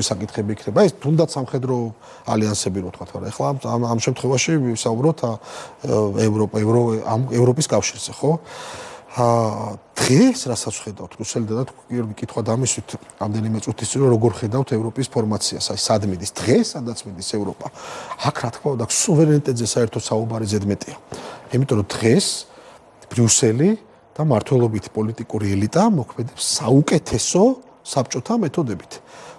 საკითხები იქნება ეს თუნდაც სამხედრო ალიანსები რო თქვათ, მაგრამ ეხლა ამ შემთხვევაში ვისაუბროთ ევროპის კავშირზე, ხო? დღეს რასაც ხედავთ რუსელი და გიორგი კითხვა დამისვით რამდენიმე წუთის წინ როგორ ხედავთ ევროპის ფორმაციას, აი სად მიდის დღეს, სადაც მიდის ევროპა. აქ რა თქმა უნდა სუვერენიტეტზე საერთოდ საუბარი ზედმეტია. იმიტომ რომ დღეს ბრიუსელი და მართლობითი პოლიტიკური ელიტა მოქმედებს საუკეთესო საბჭოთა მეთოდებით.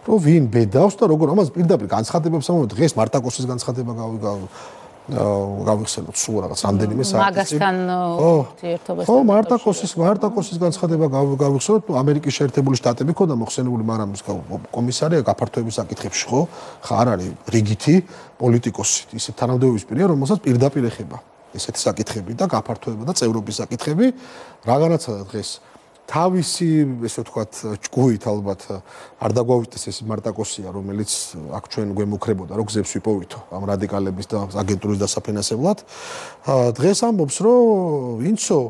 რომ ვინ ბედავს და როგორ ამას პირდაპირ განცხადებებს ამბობ დღეს მარტაკოსის განცხადება გავიხსენოთ სულ რაღაც რამდენიმე საათი მაგასთან ურთიერთობას ხო მარტაკოსის განცხადება გავიხსენოთ ამერიკის შეერთებული შტატები ქონდა მოხსენებული მაგრამ კომისარი გაფართოების საკითხებში ხო არ არის რიგითი პოლიტიკოსი ისე თანამდებობის პირია რომელსაც პირდაპირ ეხება ესეთი საკითხები და გაფართოება და წევრობის საკითხები რაღაცა დღეს თავისი ესე ვთქვათ ჭკუით ალბათ არ დაგვავიტეს ეს მარტაკოსია რომელიც აქ ჩვენ გვემუქრებოდა რომ გზებს ვიპოვითო ამ რადიკალების და აგენტურის დასაფინანსებლად დღეს ამბობს რომ ვინცო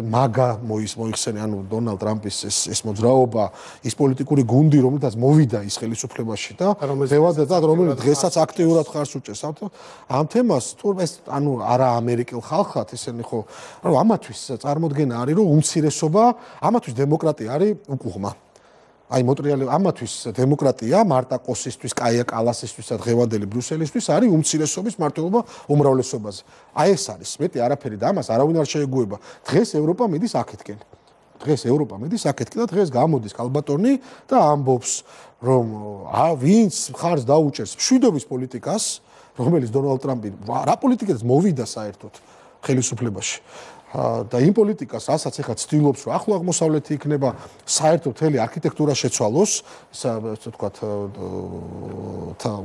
მაგა მოიხსენე ანუ დონალდ ტრამპის ეს მოძრაობა ის პოლიტიკური გუნდი რომელთაც მოვიდა ის ხელისუფლებაში და რომელიც დღესაც აქტიურად ხარს უჭერს ამ თემას თუ ეს ანუ არა ამერიკელ ხალხად ესენი ხო ანუ ამათვის წარმოდგენა არის რომ უმცირესობა ამათვის დემოკრატია არის უკუღმა აი მოტრიალე ამათვის დემოკრატია მარტაკოსისთვის, კაია კალასისთვის და დღევანდელი ბრიუსელისთვის არის უმცირესობის მართლობა უმრავლესობაზე. აი ეს არის მეტი არაფერი და ამას არავინ არ შეეგუება. დღეს ევროპა მიდის აქეთკენ. და დღეს გამოდის კალბატონი და ამბობს რომ ვინც ხარს დაუჭერს მშვიდობის პოლიტიკას, რომელიც დონალდ ტრამპი რა პოლიტიკას მოვიდა საერთოდ ხელისუფლებაში. და იმ პოლიტიკას, რასაც ეხლა ცდილობს, რომ ახლო აღმოსავლეთი იქნება საერთოდ მთელი არქიტექტურა შეცვალოს, ესე ვთქვათ,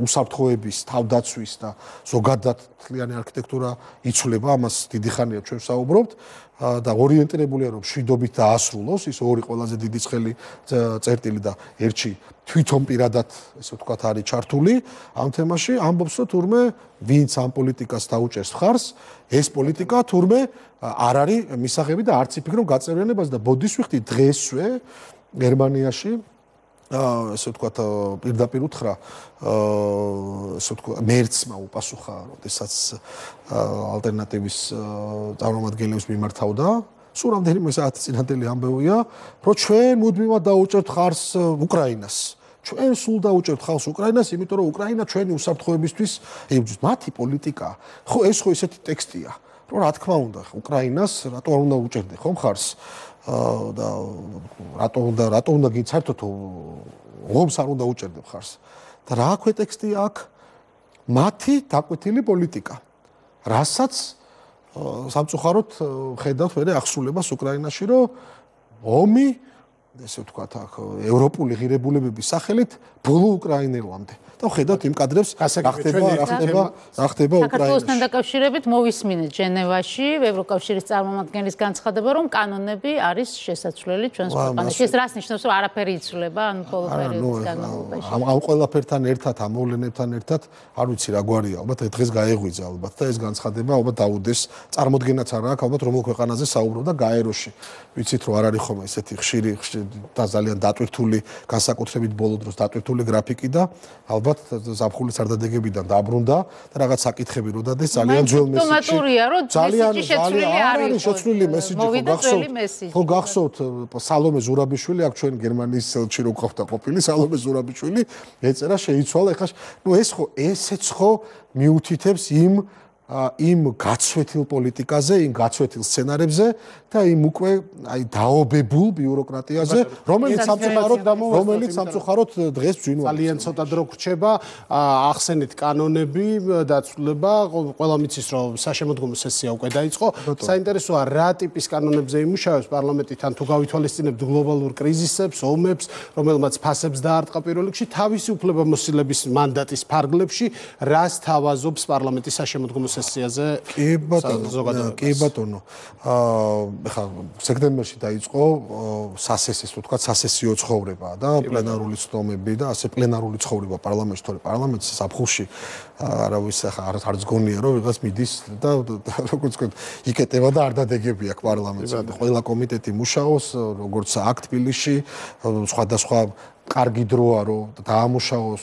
უსაფრთხოების, თავდაცვის და ზოგადად მთლიანი არქიტექტურა იცვლება, ამას დიდი ხანია ჩვენ ვსაუბრობთ და ორიენტირებულია რომ მშვიდობით დაასრულოს ის ორი ყველაზე დიდი ცხელი წერტილი და ერთში თვითონ პირადად ესე ვთქვათ არის ჩართული ამ თემაში ამბობს რომ თურმე ვინც ამ პოლიტიკას დაუჭერს ხარს ეს პოლიტიკა თურმე არ არის მისაღები და არც იფიქრონ გაწევრიანებას და ბოდის ვიხდი დღესვე გერმანიაში ესე ვთქვათ პირდაპირ უთხრა ესე ვთქვათ მერცმა უპასუხა როდესაც ალტერნატივის წარმომადგენლებს მიმართავდა სულ რამდენიმე საათი წინანდელი ამბებია რომ ჩვენ მუდმივად დაუჭერთ ხარს უკრაინას ჩვენ სულ დაუჭერთ ხარს უკრაინას იმიტომ რომ უკრაინა ჩვენი უსაფრთხოებისთვის იბრძვის მათი პოლიტიკა ხო ეს ხო ესეთი ტექსტია რომ რა თქმა უნდა უკრაინას რატო არ უნდა უჭერდე ხომ ხარს და რატო უნდა გიც საერთოდ ომს არ უნდა უჭერდე ხარს და რა ქვეტექსტია აქ მათი დაკვეთილი პოლიტიკა რასაც სამწუხაროდ ხედავთ მე ახსულებას უკრაინაში რომ ომი ესე ვთქვათ აქ ევროპული ღირებულებების სახელით ბოლო უკრაინელამდე და ხედავთ იმ კადრებს რა ხდება უკრაინაში საქართველოსთან დაკავშირებით მოვისმინეთ ჟენევაში ევროკავშირის წარმომადგენლის განცხადება რომ კანონები არის შესაძლებელი ჩვენს ქვეყანაში ეს რას ნიშნავს რომ არაფერი იცვლება ანუ ბოლო პერიოდის განმავლობაში ამ ყველაფერთან ერთად ამ მოვლენებთან ერთად არ ვიცი რა გვარია ალბათ დღეს გაეღვიძა ალბათ და ეს განცხადება ალბათ დაუდეს წარმოდგენაც არ აქვს ალბათ რომელ ქვეყანაზე საუბრობდა გაეროში ვიცით რომ არ არის ხომ ესეთი ხშირი და ძალიან დატვირთული განსაკუთრებით ბოლო დროს დატვირთული გრაფიკი და ალბათ ზაფხულის არდადეგებიდან დაბრუნდა და რაღაც საკითხები რო დადეს ძალიან ძველ მესიჯი შეცვლილი მესიჯი ხო გახსოვთ სალომე ზურაბიშვილი აქ ჩვენ გერმანიის ელჩი რო ყავდა ყოფილი სალომე ზურაბიშვილი ეწერა შეიცვალა ეხლა ნუ ეს ხო ესეც ხო მიუთითებს იმ გაცვეთილ პოლიტიკაზე, იმ გაცვეთილ სცენარებზე და იმ უკვე აი დაობებულ ბიუროკრატიაზე, რომელიც სამწუხაროდ დღეს ბძინვარია. ძალიან ცოტა დრო გრჩება, ახსენეთ კანონები დაცვლება, ყველამ იცის რომ საშემოდგომო სესია უკვე დაიწყო. საინტერესოა რა ტიპის კანონებზე იმუშავებს პარლამენტი თან თუ გავითვალისწინებთ გლობალურ კრიზისებს, ომებს, რომელმაც ფასებს დაარტყა პირველ რიგში თავისი უფლებამოსილების მანდატის ფარგლებში, რას თავაზობს პარლამენტის საშემოდგომო სესიაზე კი ბატონო. ეხლა სექტემბერში დაიწყო სასესის, თუ თქვა, სასესიო ცხოვრება და პლენარული ცდომები და ასე პლენარული ცხოვრება პარლამენტში, თორე პარლამენტის საფხულში არავის ახლა არც გონია რომ ვიღაც მიდის და როგორც ვთქვათ, იკეტება და არ დადეგები აქვს პარლამენტს. ყველა კომიტეტი მუშაობს, როგორც აქ თბილისში, სხვადასხვა კარგი დროა რომ დაამუშავოს